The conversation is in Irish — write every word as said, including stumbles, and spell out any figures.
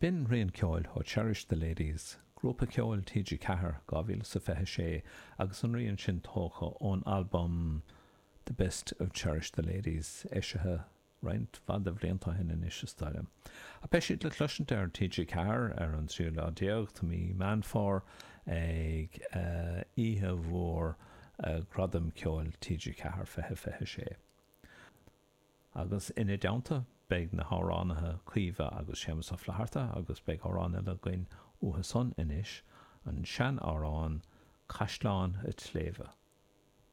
B'in rian ceoil ó Cherish the Ladies, grúpa ceoil T G Ceathair dhá mhíle is a fiche sé, agus an rian sin tógtha ón albam The Best of Cherish the Ladies, eisithe roinnt mhaith de bhlianta ó shin anois is dóigh. A beidh siad le cloisint ar T G Ceathair ar an tríú lá déag de mhí Meán Fómhair ag oíche mhór Gradam Ceoil T G Ceathair fiche fiche sé. Agus ina dteannta beidh na hamhránaithe Caoimhe agus Séamus Ó Flatharta, agus beidh amhrán eile againn uathu san anois, an seanamhrán Caisleán an tSléibhe.